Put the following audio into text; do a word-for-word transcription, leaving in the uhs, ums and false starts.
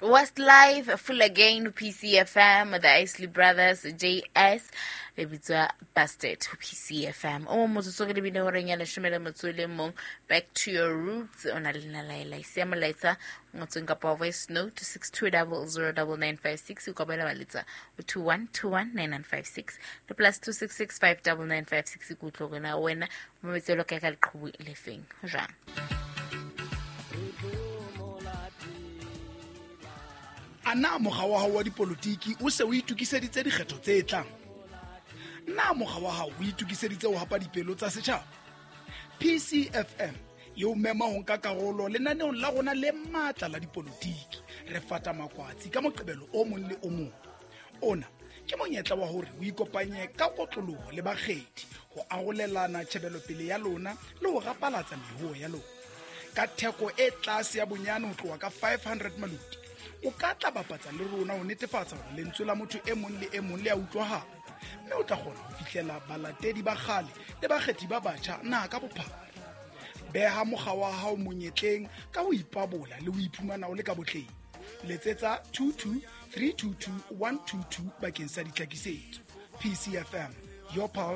Westlife Full Again P C F M, the Isley Brothers, J S, le bitswa Busted P C F M. O motsotso ke lebile horeng ya leshome le motso le mong. Back to your roots. O na le nna Laila. Siya molaetsa ngotsweng kapa voice note six two double zero double nine five six. O ka boela wa letsa o two one two one nine nine five six le plus two six six five double nine five six. Ke utlwe hore na wena o mametse jwalo ka ka leqhubu le feng. Ho jwang? A na mokga wa hao wa dipolotiki o se o itokiseditse dikgetho tse tlang? Na mokga wa hao o itokiseditse ho hapa dipelo tsa setjhaba? P C F M e o mema ho nka karolo lenaneong la rona le matla la dipolotiki. Re fata makwatsi ka Moqebelo o mong le o mong. Ona ke monyetla wa hore o ikopanye ka kotloloho le bakgethi ho arolelana tjhebelopele ya lona le ho rapalatsa mehoo ya lona. Ka theko e tlase ya bonyane ho tloha ka five hundred maloti, o ka tla bapatsa le rona ho netefatsa hore lentswe la motho e mong le e mong le a utlwahala, mme o tla kgona ho fihlela balatedi ba kgale le bakgethi ba batjha naha ka bophara. Beha mokga wa hao monyetleng ka ho ipabola le ho iphumana o le ka botleng. Letsetsa two two three two two one two two bakeng sa ditlhakisetso. P C F M, your pulse.